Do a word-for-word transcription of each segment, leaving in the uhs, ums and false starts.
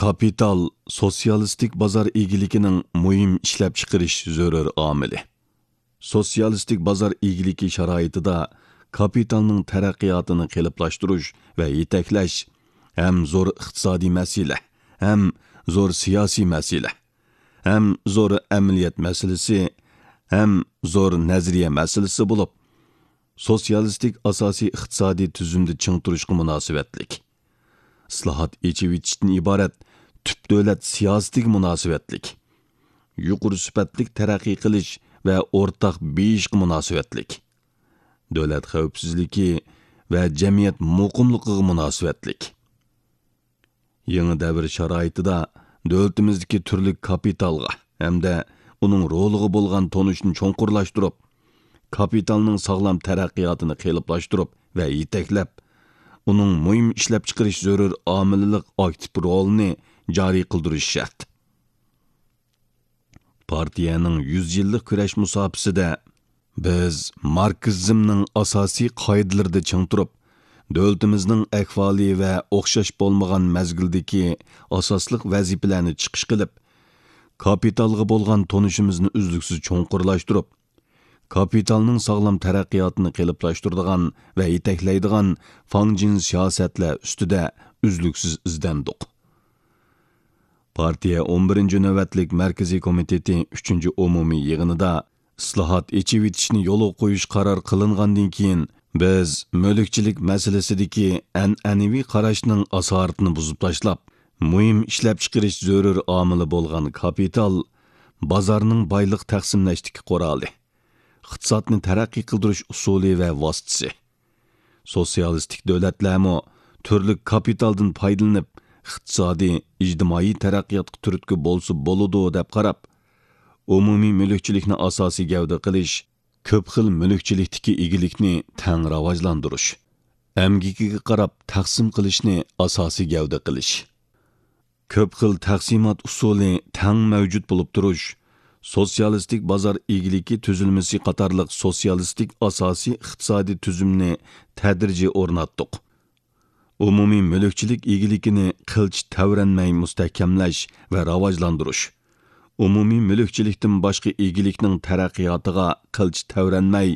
كاپىتال سوتسىيالىستىك بازار ئىگىلىكىنىڭ مۇھىم ئىشلەپچىقىرىش زۆرۈر ئامىلى. سوتسىيالىستىك بازار ئىگىلىكى شارائىتىدا كاپىتالنىڭ تەرەققىياتىنى قېلىپلاشتۇرۇش ۋە يېتەكلەش ھەم زور ئىقتىسادىي مەسىلە، ھەم زور سىياسىي مەسىلە، ھەم زور ئەمەلىيەت مەسىلىسى، ھەم زور نەزەرىيە مەسىلىسى بولۇپ، سوتسىيالىستىك ئاساسىي ئىقتىسادىي تۈزۈمدە چىڭ تۇرۇشقا مۇناسىۋەتلىك. ئىسلاھات، ئېچىۋېتىشتىن ئىبارەت تۈپ دۆلەت سىياسىتىگە مۇناسىۋەتلىك. يۇقىرى سۈپەتلىك تەرەققىي قىلىش ۋە ئورتاق بېيىشقا مۇناسىۋەتلىك. دۆلەت خەۋپسىزلىكى ۋە جەمئىيەت مۇقىملىقىغا مۇناسىۋەتلىك. يېڭى دەۋر شارائىتىدا دۆلىتىمىزدىكى تۈرلۈك كاپىتالغا ھەمدە ئۇنىڭ رولىغا بولغان تونۇشنى چوڭقۇرلاشتۇرۇپ، كاپىتالنىڭ ساغلام تەرەققىياتىنى قېلىپلاشتۇرۇپ ۋە يېتەكلەپ، ئۇنىڭ مۇھىم ئىشلەپچىقىرىش زۆرۈر ئامىللىق ئاكتىپ رولىنى جارى قىلدۇرۇش شەرت. پارتىيەنىڭ يۈز يىللىق كۈرەش مۇساپىسىدە بىز ماركسىزمنىڭ ئاساسىي قائىدىلىرىدە چىڭ تۇرۇپ، دۆلىتىمىزنىڭ ئەھۋالى ۋە ئوخشاش بولمىغان مەزگىلدىكى ئاساسلىق ۋەزىپىلەرنى چىقىش قىلىپ، كاپىتالغا بولغان تونۇشىمىزنى ئۈزلۈكسىز چوڭقۇرلاشتۇرۇپ، كاپىتالنىڭ ساغلام تەرەققىياتىنى قېلىپلاشتۇرىدىغان ۋە يېتەكلەيدىغان فاڭجېن سىياسەتلەر ئۈستىدە ئۈزلۈكسىز ئىزدەندۇق. پارتىيە ئون بىرىنچى نۆۋەتلىك مەركىزىي كومىتېتى ئۈچىنچى ئومۇمىي يىغىنىدا ئىسلاھات، ئېچىۋېتىشنى يولغا قويۇش قارار قىلىنغاندىن كېيىن، بىز مۈلۈكچىلىك مەسىلىسىدىكى ئەنئەنىۋى قاراشنىڭ ئاسارىتىنى بۇزۇپ تاشلاپ، مۇھىم ئىشلەپچىقىرىش زۆرۈر ئامىلى بولغان كاپىتال بازارنىڭ بايلىق تەقسىملەشتىكى قورالى، ئىقتىسادنى تەرەققىي قىلدۇرۇش ئۇسۇلى ۋە ۋاسىتىسى. سوتسىيالىستىك دۆلەتلەرمۇ تۈرلۈك كاپىتالدىن پايدىلىنىپ، ئىقتىسادىي، ئىجتىمائىي تەرەققىياتقا تۈرتكە بولسا بولىدۇ، دەپ قاراپ، ئومۇمىي مۈلۈكچىلىكنى ئاساسىي گەۋدە قىلىش، كۆپ خىل مۈلۈكچىلىكتىكى ئىگىلىكنى تەڭ راۋاجلاندۇرۇش، ئەمگىكىگە قاراپ تەقسىم قىلىشنى ئاساسىي گەۋدە قىلىش. كۆپ خىل تەقسىمات ئۇسۇلى تەڭ مەۋجۇت بولۇپ تۇرۇش، سوتسىيالىستىك بازار ئىگىلىكى تۈزۈلمىسى قاتارلىق سوتسىيالىستىك ئاساسىي ئىقتىسادىي تۈزۈمنى تەدرىجىي ئورناتتۇق. ئومۇمىي مۈلۈكچىلىك ئىگىلىكىنى قىلچە تەۋرەنمەي مۇستەھكەملەش ۋە راۋاجلاندۇرۇش، ئومۇمىي مۈلۈكچىلىكتىن باشقا ئىگىلىكنىڭ تەرەققىياتىغا قىلچە تەۋرەنمەي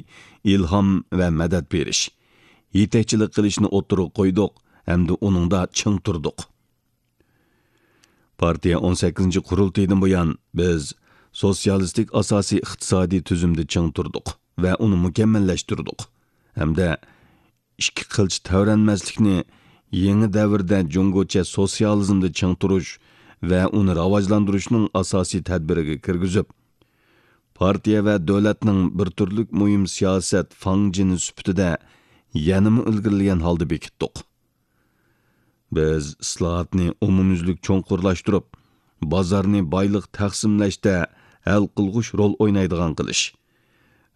ئىلھام ۋە مەدەت بېرىش، يېتەكچىلىك قىلىشنى ئوتتۇرىغا قويدۇق ھەمدە ئۇنىڭدا چىڭ تۇردۇق. پارتىيە ئون سەككىزىنچى قۇرۇلتىيىدىن بۇيان، بىز سوتسىيالىستىك ئاساسىي ئىقتىسادىي تۈزۈمدە چىڭ تۇردۇق ۋە ئۇنى مۇكەممەللەشتۈردۇق ھەمدە ئىككى قىلچە تەۋرەنمەسلىكنى يېڭى دەۋردە جۇڭگوچە سوتسىيالىزمدا چىڭ تۇرۇش ۋە ئۇنى راۋاجلاندۇرۇشنىڭ ئاساسىي تەدبىرىگە كىرگۈزۈپ، پارتىيە ۋە دۆلەتنىڭ بىر تۈرلۈك مۇھىم سىياسەت فاڭجېنى سۈپىتىدە يەنىمۇ ئىلگىرىلىگەن ھالدا بېكىتتۇق. بىز ئىسلاھاتنى ئومۇميۈزلۈك چوڭقۇرلاشتۇرۇپ، بازارنى بايلىق تەقسىملەشتە ھەل قىلغۇچ رول ئوينايدىغان قىلىش،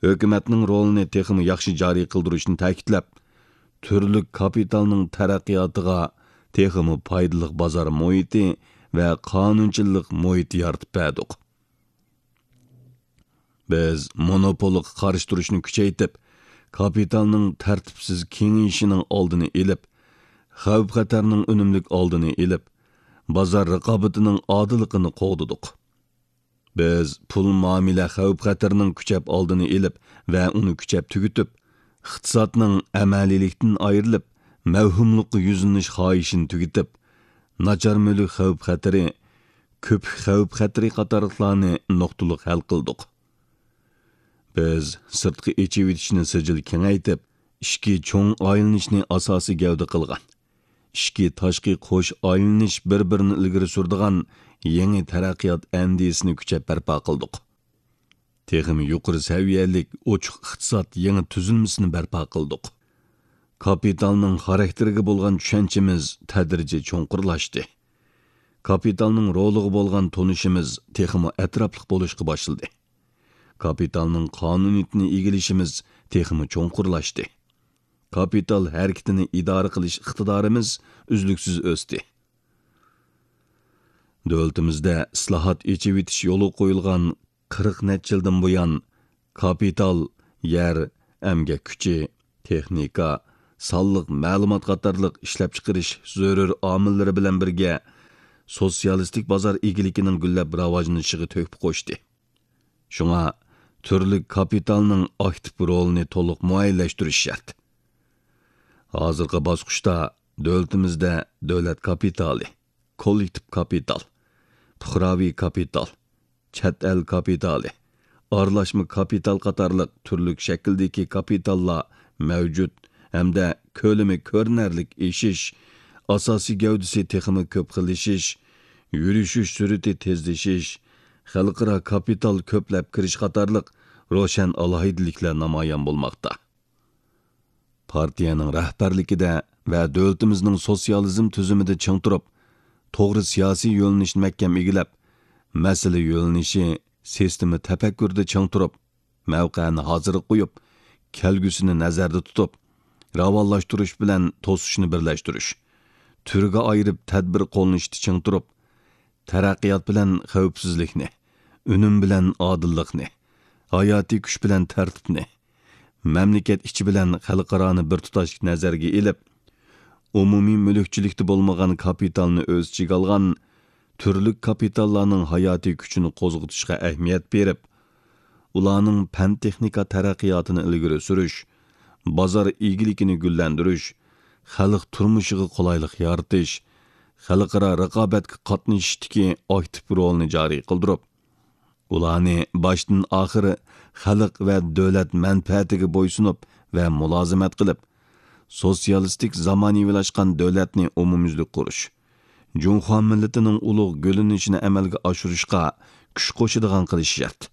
ھۆكۈمەتنىڭ رولىنى تېخىمۇ ياخشى جارى قىلدۇرۇشنى تەكىتلەپ، تۈرلۈك كاپىتالنىڭ تەرەققىياتىغا تېخىمۇ پايدىلىق بازار مۇھىتى ۋە قانۇنچىلىق مۇھىتى يارىتىپ بەردۇق. بىز مونوپولغا قارشى تۇرۇشنى كۈچەيتىپ، كاپىتالنىڭ تەرتىپسىز كېڭىيىشىنىڭ ئالدىنى ئېلىپ، خەۋپ-خەتەرنىڭ ئۈنۈملۈك ئالدىنى ئېلىپ، بازار رىقابىتىنىڭ ئادىللىقىنى قوغدىدۇق. بىز پۇل مۇئامىلە خەۋپ-خەتىرىنىڭ كۈچەپ ئالدىنى ئېلىپ ۋە ئۇنى كۈچەپ تۈگىتىپ، ئىقتىسادنىڭ ئەمەلىيلىكتىن ئايرىلىپ، مەۋھۇملۇققا يۈزلىنىش خاھىشىنى تۈگىتىپ، ناچار مۈلۈك خەۋپ-خەتىرى، كۆپۈك خەۋپ-خەتىرى قاتارلىقلارنى نۇقتىلىق ھەل قىلدۇق. بىز سىرتقا ئېچىۋېتىشنى سىجىل كېڭەيتىپ، ئىچكى چوڭ ئايلىنىشنى ئاساسىي گەۋدە قىلغان، ئىچكى تاشقى قوش ئايلىنىش بىر-بىرىنى ئىلگىرى سۈرىدىغان يېڭى تەرەققىيات ئەندىزىسىنى كۈچەپ بەرپا قىلدۇق. تېخىمۇ يۇقىرى سەۋىيەلىك ئوچۇق ئىقتىساد يېڭى تۈزۈلمىسىنى بەرپا قىلدۇق. كاپىتالنىڭ خاراكتېرىگە بولغان چۈشەنچىمىز تەدرىجىي چوڭقۇرلاشتى. كاپىتالنىڭ رولىغا بولغان تونۇشىمىز تېخىمۇ ئەتراپلىق بولۇشقا باشلىدى. كاپىتالنىڭ قانۇنىيىتىنى ئىگىلىشىمىز تېخىمۇ چوڭقۇرلاشتى. كاپىتال ھەرىكىتىنى ئىدارە قىلىش ئىقتىدارىمىز ئۈزلۈكسىز ئۆستى. دۆلىتىمىزدە ئىسلاھات، ئېچىۋېتىش يولغا قويۇلغان قىرىق نەچچە يىلدىن بۇيان، كاپىتال، يەر، ئەمگەك كۈچى، تېخنىكا، سانلىق مەلۇمات قاتارلىق ئىشلەپچىقىرىش زۆرۈر ئامىللىرى بىلەن بىرگە، سوتسىيالىستىك بازار ئىگىلىكىنىڭ گۈللەپ راۋاجلىنىشىغا تۆھپە قوشتى. شۇڭا تۈرلۈك كاپىتالنىڭ ئاكتىپ رولىنى تولۇق مۇئەييەنلەشتۈرۈش شەرت. ھازىرقى باسقۇچتا دۆلىتىمىزدە دۆلەت كاپىتالى، كوللېكتىپ كاپىتال، پۇقراۋى كاپىتال، چەت ئەل كاپىتالى، ئارىلاشما كاپىتال قاتارلىق تۈرلۈك شەكىلدىكى كاپىتاللار مەۋجۇت ھەمدە كۆلىمى كۆرۈنەرلىك ئېشىش، ئاساسىي گەۋدىسى تېخىمۇ كۆپ خىللىشىش، يۈرۈشۈش سۈرئىتى تېزلىشىش، خەلقئارا كاپىتال كۆپلەپ كىرىش قاتارلىق روشەن ئالاھىدىلىكلەر نامايان بولماقتا. پارتىيەنىڭ رەھبەرلىكىدە ۋە دۆلىتىمىزنىڭ سوتسىيالىزم تۈزۈمىدە چىڭ تۇرۇپ، توغرا سىياسىي يۆنىلىشنى مەھكەم ئىگىلەپ، مەسىلە يۆنىلىشى، سىستېما تەپەككۇرىدا چىڭ تۇرۇپ، مەۋقەنى ھازىرغا قويۇپ، كەلگۈسىنى نەزەردە تۇتۇپ، راۋانلاشتۇرۇش بىلەن توسۇشنى بىرلەشتۈرۈش، تۈرگە ئايرىپ تەدبىر قوللىنىشتا چىڭ تۇرۇپ، تەرەققىيات بىلەن خەۋپسىزلىكنى، ئۈنۈم بىلەن ئادىللىقنى، ھاياتىي كۈچ بىلەن تەرتىپنى، مەملىكەت ئىچى بىلەن خەلقئارانى بىر تۇتاش نەزەرگە ئېلىپ، ئومۇمىي مۈلۈكچىلىكتە بولمىغان كاپىتالنى ئۆز ئىچىگە ئالغان تۈرلۈك كاپىتاللارنىڭ ھاياتىي كۈچىنى قوزغىتىشقا ئەھمىيەت بېرىپ، ئۇلارنىڭ پەن-تېخنىكا تەرەققىياتىنى ئىلگىرى سۈرۈش، بازار ئىگىلىكىنى گۈللەندۈرۈش، خەلق تۇرمۇشىغا قولايلىق يارىتىش، خەلقئارا رىقابەتكە قاتنىشىشتىكى ئاكتىپ رولىنى جارى قىلدۇرۇپ، ئۇلارنى باشتىن ئاخىر خەلق ۋە دۆلەت مەنپەئەتىگە بويسۇنۇپ ۋە مۇلازىمەت قىلىپ، سوتسىيالىستىك زامانىۋىلاشقان دۆلەتنى ئومۇميۈزلۈك قۇرۇش، جۇڭخۇا مىللىتىنىڭ ئۇلۇغ گۈللىنىشىنى ئەمەلگە ئاشۇرۇشقا كۈچ قوشىدىغان قىلىش شەرت.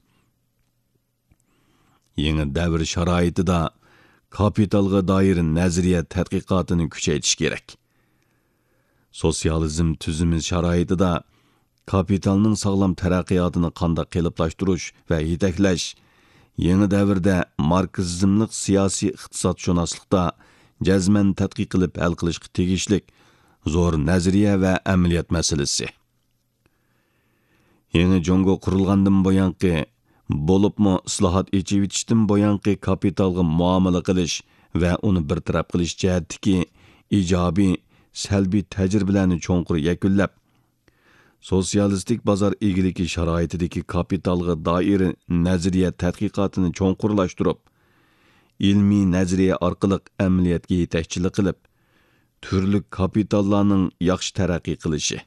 يېڭى دەۋر شارائىتىدا كاپىتالغا دائىر نەزەرىيە تەتقىقاتىنى كۈچەيتىش كېرەك. سوتسىيالىزم تۈزۈمى شارائىتىدا كاپىتالنىڭ ساغلام تەرەققىياتىنى قانداق قېلىپلاشتۇرۇش ۋە يېتەكلەش، يېڭى دەۋردە ماركسىزملىق سىياسىي ئىقتىسادشۇناسلىقتا جەزمەن تەتقىق قىلىپ ھەل قىلىشقا تېگىشلىك زور نەزەرىيە ۋە ئەمەلىيەت مەسىلىسى. يېڭى جۇڭگو قۇرۇلغاندىن بۇيانقى، بولۇپمۇ ئىسلاھات، ئېچىۋېتىشتىن بۇيانقى كاپىتالغا مۇئامىلە قىلىش ۋە ئۇنى بىر تەرەپ قىلىش جەھەتتىكى ئىجابىي، سەلبىي تەجرىبىلەرنى چوڭقۇر يەكۈنلەپ، سوتسىيالىستىك بازار ئىگىلىكى شارائىتىدىكى كاپىتالغا دائىر نەزەرىيە تەتقىقاتىنى چوڭقۇرلاشتۇرۇپ، ئىلمىي نەزەرىيە ئارقىلىق ئەمەلىيەتكە يېتەكچىلىك قىلىپ، تۈرلۈك كاپىتاللارنىڭ ياخشى تەرەققىي قىلىشى،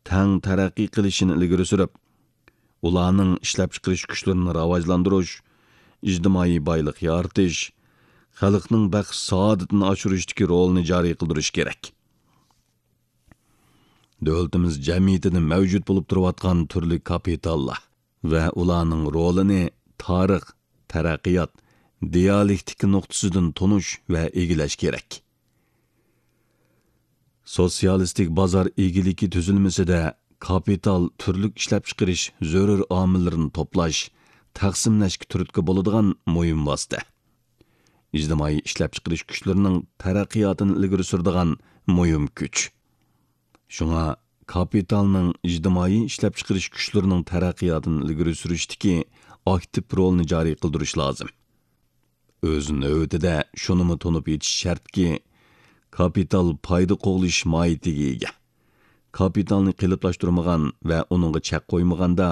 تەڭ تەرەققىي قىلىشىنى ئىلگىرى سۈرۈپ، ئۇلارنىڭ ئىشلەپچىقىرىش كۈچلىرىنى راۋاجلاندۇرۇش، ئىجتىمائىي بايلىق يارىتىش، خەلقنىڭ بەخت-سائادىتىنى ئاشۇرۇشتىكى رولىنى جارى قىلدۇرۇش كېرەك. دۆلىتىمىز جەمئىيىتىدە مەۋجۇت بولۇپ تۇرۇۋاتقان تۈرلۈك كاپىتاللار ۋە ئۇلارنىڭ رولىنى تارىخ، تەرەققىيات، دىيالېكتىكا نۇقتىسىدىن تونۇش ۋە ئىگىلەش كېرەك. سوتسىيالىستىك بازار ئىگىلىكى تۈزۈلمىسىدە كاپىتال تۈرلۈك ئىشلەپچىقىرىش زۆرۈر ئامىللىرىنى توپلاش، تەقسىملەشكە تۈرتكە بولىدىغان مۇھىم ۋاسىتە. ئىجتىمائىي ئىشلەپچىقىرىش كۈچلىرىنىڭ تەرەققىياتىنى ئىلگىرى سۈرىدىغان مۇھىم كۈچ. شۇڭا كاپىتالنىڭ ئىجتىمائىي ئىشلەپچىقىرىش كۈچلىرىنىڭ تەرەققىياتىنى ئىلگىرى سۈرۈشتىكى ئاكتىپ رولىنى جارى قىلدۇرۇش لازىم. ئۆز نۆۋىتىدە شۇنىمۇ تونۇپ يېتىش شەرتكى، كاپىتال پايدا قوغلىشىش ماھىيىتىگە ئىگە. كاپىتالنى قېلىپلاشتۇرمىغان ۋە ئۇنىڭغا چەك قويمىغاندا،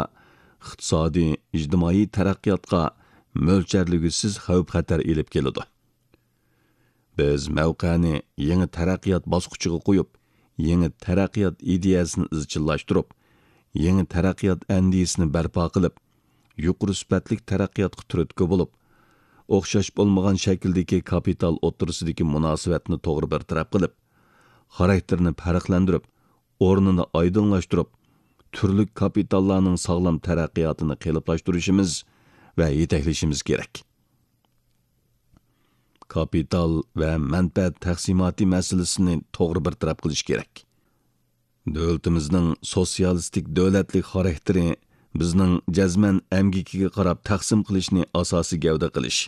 ئىقتىسادىي، ئىجتىمائىي تەرەققىياتقا مۆلچەرلىگۈسىز خەۋپ-خەتەر ئېلىپ كېلىدۇ. بىز مەۋقەنى يېڭى تەرەققىيات باسقۇچىغا قويۇپ، يېڭى تەرەققىيات ئىدىيەسىنى ئىزچىللاشتۇرۇپ، يېڭى تەرەققىيات ئەندىزىسىنى بەرپا قىلىپ، يۇقىرى سۈپەتلىك تەرەققىياتقا تۈرتكە بولۇپ، ئوخشاش بولمىغان شەكىلدىكى كاپىتال ئوتتۇرىسىدىكى مۇناسىۋەتنى توغرا بىر تەرەپ قىلىپ، خاراكتېرىنى پەرقلەندۈرۈپ، ئورنىنى ئايدىڭلاشتۇرۇپ، تۈرلۈك كاپىتاللارنىڭ ساغلام تەرەققىياتىنى قېلىپلاشتۇرۇشىمىز ۋە يېتەكلىشىمىز كېرەك. كاپىتال ۋە مەنپەئەت تەقسىماتى مەسىلىسىنى توغرا بىر تەرەپ قىلىش كېرەك. دۆلىتىمىزنىڭ سوتسىيالىستىك دۆلەتلىك خاراكتېرى بىزنىڭ جەزمەن ئەمگىكىگە قاراپ تەقسىم قىلىشنى ئاساسىي گەۋدە قىلىش،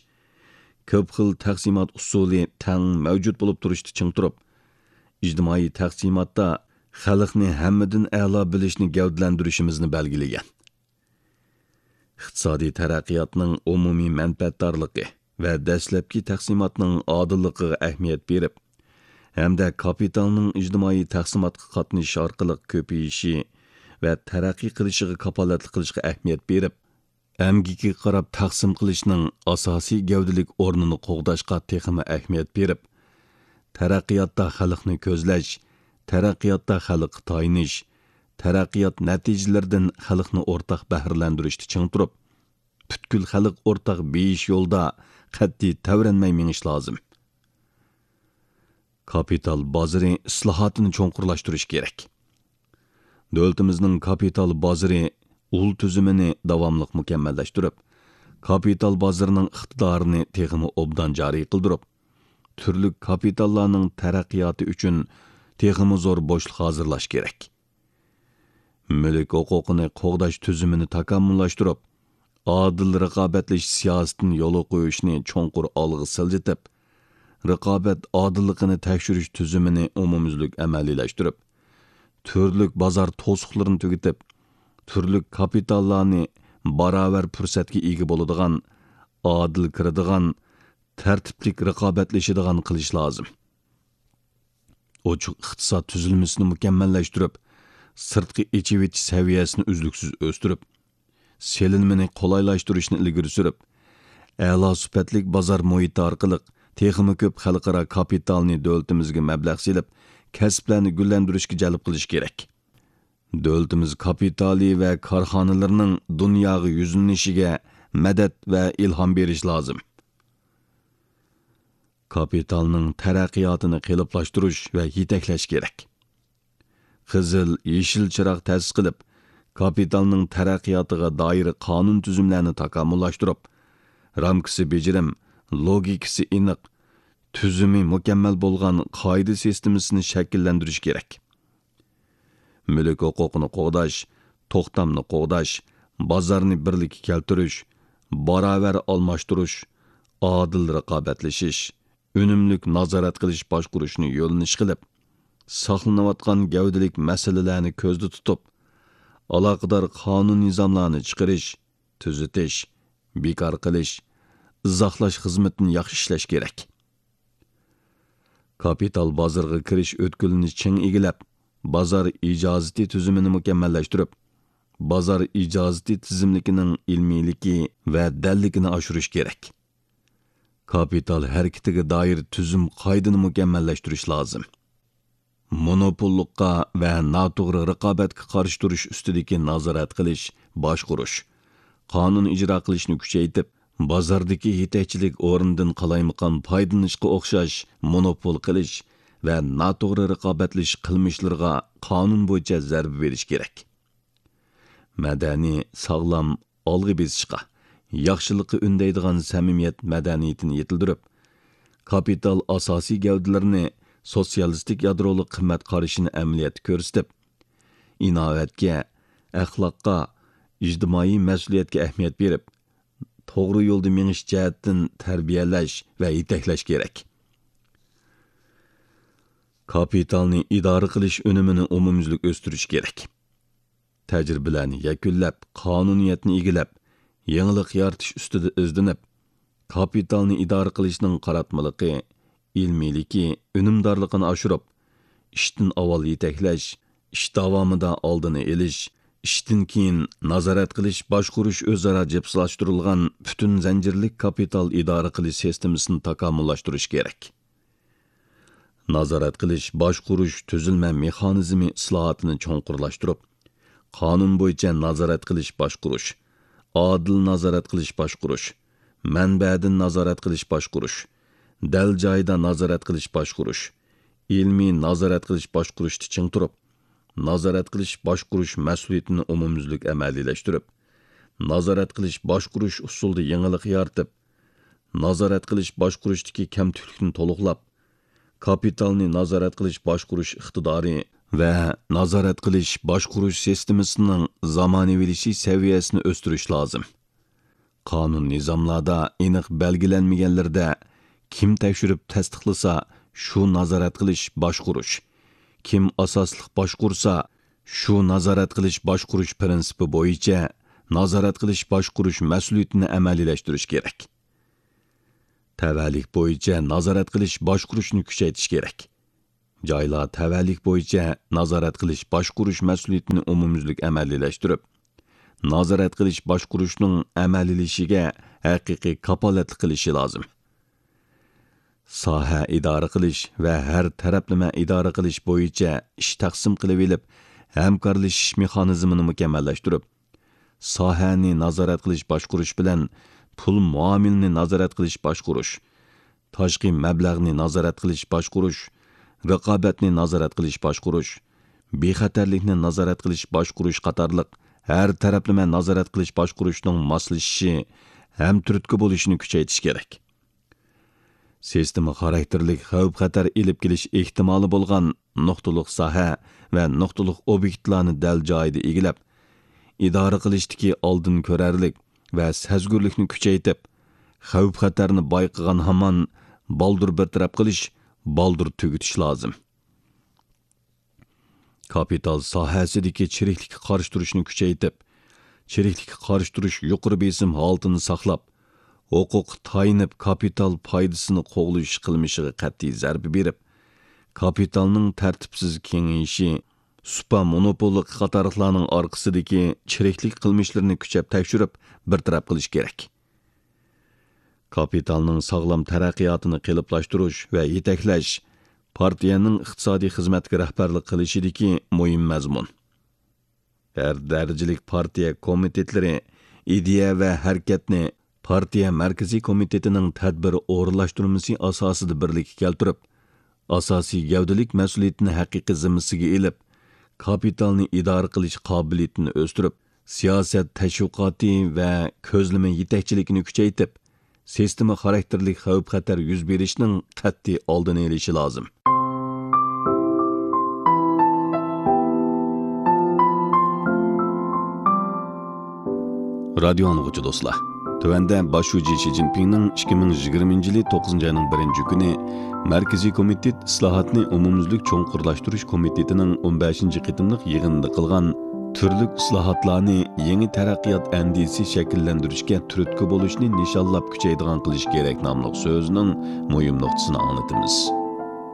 كۆپ خىل تەقسىمات ئۇسۇلى تەڭ مەۋجۇت بولۇپ تۇرۇشتا چىڭ تۇرۇپ، ئىجتىمائىي تەقسىماتتا خەلقنى ھەممىدىن ئەلا بىلىشنى گەۋدىلەندۈرۈشىمىزنى بەلگىلىگەن. ئىقتىسادىي تەرەققىياتنىڭ ئومۇمىي مەنپەئەتدارلىقى ۋە دەسلەپكى تەقسىماتنىڭ ئادىللىقىغا ئەھمىيەت بېرىپ، ھەمدە كاپىتالنىڭ ئىجتىمائىي تەقسىماتقا قاتنىشىش ئارقىلىق كۆپىيىشى ۋە تەرەققىي قىلىشىغا كاپالەتلىك قىلىشقا ئەھمىيەت بېرىپ، ئەمگىكىگە قاراپ تەقسىم قىلىشنىڭ ئاساسىي گەۋدىلىك ئورنىنى قوغداشقا تېخىمۇ ئەھمىيەت بېرىپ، تەرەققىياتتا خەلقنى كۆزلەش، تەرەققىياتتا خەلققە تايىنىش، تەرەققىيات نەتىجىلىرىدىن خەلقنى ئورتاق بەھرىلەندۈرۈشتە چىڭ تۇرۇپ، پۈتكۈل خەلق ئورتاق بېيىش يولىدا قەتئىي تەۋرەنمەي مېڭىش لازىم. كاپىتال بازىرى ئىسلاھاتىنى چوڭقۇرلاشتۇرۇش كېرەك. دۆلىتىمىزنىڭ كاپىتال بازىرى ئۇل تۈزۈمىنى داۋاملىق مۇكەممەللەشتۈرۈپ، كاپىتال بازىرىنىڭ ئىقتىدارىنى تېخىمۇ ئوبدان جارى قىلدۇرۇپ، تۈرلۈك كاپىتاللارنىڭ تەرەققىياتى ئۈچۈن تېخىمۇ زور بوشلۇق ھازىرلاش كېرەك. مۈلۈك ھوقۇقىنى قوغداش تۈزۈمىنى تاكامۇللاشتۇرۇپ، ئادىل رىقابەتلىشىش سىياسىتىنى يولغا قويۇشنى چوڭقۇر ئالغا سىلجىتىپ، رىقابەت ئادىللىقىنى تەكشۈرۈش تۈزۈمىنى ئومۇميۈزلۈك ئەمەلىيلەشتۈرۈپ، تۈرلۈك بازار توسۇقلىرىنى تۈگىتىپ، تۈرلۈك كاپىتاللارنى باراۋەر پۇرسەتكە ئىگە بولىدىغان، ئادىل كىرىدىغان، تەرتىپلىك رىقابەتلىشىدىغان قىلىش لازىم. ئوچۇق ئىقتىساد تۈزۈلمىسىنى مۇكەممەللەشتۈرۈپ، سىرتقى ئېچىۋېتىش سەۋىيەسىنى ئۈزلۈكسىز ئۆستۈرۈپ، سېلىنمىنى قولايلاشتۇرۇشنى ئىلگىرى سۈرۈپ، ئەلا سۈپەتلىك بازار مۇھىتى ئارقىلىق تېخىمۇ كۆپ خەلقئارا كاپىتالنى دۆلىتىمىزگە مەبلەغ سېلىپ، كەسىپلەرنى گۈللەندۈرۈشكە جەلپ قىلىش كېرەك. دۆلىتىمىز كاپىتالى ۋە كارخانىلىرىنىڭ دۇنياغا يۈزلىنىشىگە مەدەت ۋە ئىلھام بېرىش لازىم. كاپىتالنىڭ تەرەققىياتىنى قېلىپلاشتۇرۇش ۋە يېتەكلەش كېرەك. قىزىل، يېشىل چىراغ تەسىس قىلىپ، كاپىتالنىڭ تەرەققىياتىغا دائىر قانۇن تۈزۈملەرنى تاكامۇللاشتۇرۇپ، رامكىسى بېجىرىم، لوگىكىسى ئېنىق، تۈزۈمى مۇكەممەل بولغان قائىدە سىستېمىسىنى شەكىللەندۈرۈش كېرەك. مۈلۈك ھوقۇقىنى قوغداش، توختامنى قوغداش، بازارنى بىرلىككە كەلتۈرۈش، باراۋەر ئالماشتۇرۇش، ئادىل رىقابەتلىشىش، ئۈنۈملۈك نازارەت قىلىش باشقۇرۇشنى يۆنىلىش قىلىپ، ساقلىنىۋاتقان گەۋدىلىك مەسىلىلەرنى كۆزدە تۇتۇپ، ئالاقىدار قانۇن نىزاملارنى چىقىرىش، تۈزىتىش، بىكار قىلىش، ئىزاھلاش خىزمىتىنى ياخشى ئىشلەش كېرەك. كاپىتال بازىرىغا كىرىش ئۆتكىلىنى چىڭ ئىگىلەپ، بازار ئىجازىتى تۈزۈمىنى مۇكەممەللەشتۈرۈپ، بازار ئىجازىتى تىزىملىكىنىڭ ئىلمىيلىكى ۋە دەللىكىنى ئاشۇرۇش كېرەك. كاپىتال ھەرىكىتىگە دائىر تۈزۈم قائىدىنى مۇكەممەللەشتۈرۈش لازىم. مونوپوللۇققا ۋە ناتوغرا رىقابەتكە قارشى تۇرۇش ئۈستىدىكى نازارەت قىلىش، باشقۇرۇش، قانۇن ئىجرا قىلىشنى كۈچەيتىپ، بازاردىكى يېتەكچىلىك ئورنىدىن قالايمىقان پايدىلىنىشقا ئوخشاش مونوپول قىلىش ۋە ناتوغرا رىقابەتلىشىش قىلمىشلىرىغا قانۇن بويىچە زەربە بېرىش كېرەك. مەدەنىي، ساغلام، ئالغا بېسىشقا، ياخشىلىققا ئۈندەيدىغان سەمىمىيەت مەدەنىيىتىنى يېتىلدۈرۈپ، كاپىتال ئاساسىي گەۋدىلىرىنى سوتسىيالىستىك يادرولۇق قىممەت قارىشىنى ئەمەلىيەتتە كۆرسىتىپ، ئىناۋەتكە، ئەخلاققا، ئىجتىمائىي مەسئۇلىيەتكە ئەھمىيەت بېرىپ، توغرا يولدا مېڭىش جەھەتتىن تەربىيەلەش ۋە يېتەكلەش كېرەك. كاپىتالنى ئىدارە قىلىش ئۈنۈمىنى ئومۇميۈزلۈك ئۆستۈرۈش كېرەك. تەجرىبىلەرنى يەكۈنلەپ، قانۇنىيەتنى ئىگىلەپ، يېڭىلىق يارىتىش ئۈستىدە ئىزدىنىپ، كاپىتالنى ئىدارە قىلىشنىڭ قاراتمىلىقى، ئىلمىيلىكى، ئۈنۈمدارلىقىنى ئاشۇرۇپ، ئىشتىن ئاۋۋال يېتەكلەش، ئىش داۋامىدا ئالدىنى ئېلىش، ئىشتىن كېيىن نازارەت قىلىش، باشقۇرۇش ئۆزئارا جىپسلاشتۇرۇلغان پۈتۈن زەنجىرلىك كاپىتال ئىدارە قىلىش سىستېمىسىنى تاكامۇللاشتۇرۇش كېرەك. نازارەت قىلىش، باشقۇرۇش تۈزۈلمە مېخانىزمى ئىسلاھاتىنى چوڭقۇرلاشتۇرۇپ، قانۇن بويىچە نازارەت قىلىش، باشقۇرۇش، ئادىل نازارەت قىلىش، باشقۇرۇش، مەنبەدىن نازارەت قىلىش، باشقۇرۇش، دەل جايىدا نازارەت قىلىش، باشقۇرۇش، ئىلمىي نازارەت قىلىش، باشقۇرۇشتا چىڭ تۇرۇپ، نازارەت قىلىش، باشقۇرۇش مەسئۇلىيىتىنى ئومۇميۈزلۈك ئەمەلىيلەشتۈرۈپ، نازارەت قىلىش، باشقۇرۇش ئۇسۇلىدا يېڭىلىق يارىتىپ، نازارەت قىلىش، باشقۇرۇشتىكى كەمتۈكلۈكنى تولۇقلاپ، كاپىتالنى نازارەت قىلىش، باشقۇرۇش ئىقتىدارى ۋە نازارەت قىلىش، باشقۇرۇش سىستېمىسىنىڭ زامانىۋىلىشىش سەۋىيەسىنى ئۆستۈرۈش لازىم. قانۇن نىزاملاردا ئېنىق بەلگىلەنمىگەنلىرىدە، كىم تەكشۈرۈپ تەستىقلىسا، شۇ نازارەت قىلىش، باشقۇرۇش، كىم ئاساسلىق باشقۇرسا، شۇ نازارەت قىلىش، باشقۇرۇش پىرىنسىپى بويىچە نازارەت قىلىش، باشقۇرۇش مەسئۇلىيىتىنى ئەمەلىيلەشتۈرۈش كېرەك. تەۋەلىك بويىچە نازارەت قىلىش، باشقۇرۇشنى كۈچەيتىش كېرەك. جايلار تەۋەلىك بويىچە نازارەت قىلىش باشقۇرۇش مەسئۇلىيىتىنى ئومۇميۈزلۈك ئەمەلىيلەشتۈرۈپ، نازارەت قىلىش باشقۇرۇشنىڭ ئەمەلىيلىشىشىگە ھەقىقىي كاپالەتلىك قىلىشى لازىم. ساھە ئىدارە قىلىش ۋە ھەر تەرەپلىمە ئىدارە قىلىش بويىچە ئىش تەقسىم قىلىۋېلىپ، ھەمكارلىشىش مېخانىزمىنى مۇكەممەللەشتۈرۈپ، ساھەنى نازارەت قىلىش باشقۇرۇش بىلەن پۇل مۇئامىلىنى نازارەت قىلىش باشقۇرۇش، تاشقى مەبلەغنى نازارەت قىلىش باشقۇرۇش، رىقابەتنى نازارەت قىلىش باشقۇرۇش، بىخەتەرلىكنى نازارەت قىلىش باشقۇرۇش قاتارلىق ھەر تەرەپلىمە نازارەت قىلىش باشقۇرۇشنىڭ ماسلىشىشى ھەم تۈرتكە بولۇشىنى كۈچەيتىش كېرەك. سىستېما خاراكتېرلىك خەۋپ-خەتەر ئېلىپ كېلىش ئېھتىمالى بولغان نۇقتىلىق ساھە ۋە نۇقتىلىق ئوبيېكتلارنى دەل جايىدا ئىگىلەپ، ئىدارە قىلىشتىكى ئالدىن كۆرەرلىك ۋە سەزگۈرلۈكنى كۈچەيتىپ، خەۋپ-خەتەرنى بايقىغان ھامان بالدۇر بىر تەرەپ قىلىش، بالدۇر تۈگىتىش لازىم. كاپىتال ساھەسىدىكى چىرىكلىككە قارشى تۇرۇشنى كۈچەيتىپ، چىرىكلىككە قارشى تۇرۇش يۇقىرى بېسىم ھالىتىنى ساقلاپ، ھوقۇققا تايىنىپ كاپىتال پايدىسىنى قوغلىشىش قىلمىشىغا قەتئىي زەربە بېرىپ، كاپىتالنىڭ تەرتىپسىز كېڭىيىشى، سۇپا مونوپوللۇقى قاتارلىقلارنىڭ ئارقىسىدىكى چىرىكلىك قىلمىشلىرىنى كۈچەپ تەكشۈرۈپ، بىر تەرەپ قىلىش كېرەك. كاپىتالنىڭ ساغلام تەرەققىياتىنى قېلىپلاشتۇرۇش ۋە يېتەكلەش پارتىيەنىڭ ئىقتىسادىي خىزمەتكە رەھبەرلىك قىلىشىدىكى مۇھىم مەزمۇن. ھەر دەرىجىلىك پارتىيە كومىتېتلىرى ئىدىيە ۋە ھەرىكەتنى پارتىيە مەركىزىي كومىتېتىنىڭ تەدبىر ئورۇنلاشتۇرمىسى ئاساسىدا بىرلىككە كەلتۈرۈپ، ئاساسىي گەۋدىلىك مەسئۇلىيىتىنى ھەقىقىي زىممىسىگە ئېلىپ، كاپىتالنى ئىدارە قىلىش قابىلىيىتىنى ئۆستۈرۈپ، سىياسەت تەشۋىقاتى ۋە كۆزلىمە يېتەكچىلىكىنى كۈچەيتىپ، سىستېما خاراكتېرلىك خەۋپ-خەتەر يۈز بېرىشنىڭ قەتئىي ئالدىنى ئېلىشى لازىم. رادىيو ئاڭلىغۇچى دوستلار، تۆۋەندە باش شۇجى شى جىنپىڭنىڭ ئىككى مىڭ يىگىرمىنچى يىلى توققۇزىنچى ئاينىڭ بىرىنچى كۈنى مەركىزىي كومىتېت ئىسلاھاتنى ئومۇميۈزلۈك چوڭقۇرلاشتۇرۇش كومىتېتىنىڭ ئون بەشىنچى قېتىملىق يىغىنىدا قىلغان تۈرلۈك ئىسلاھاتلارنى يېڭى تەرەققىيات ئەندىزىسى شەكىللەندۈرۈشكە تۈرتكە بولۇشنى نىشانلاپ كۈچەيدىغان قىلىش كېرەك ناملىق سۆزىنىڭ مۇھىم نۇقتىسىنى ئاڭلىتىمىز.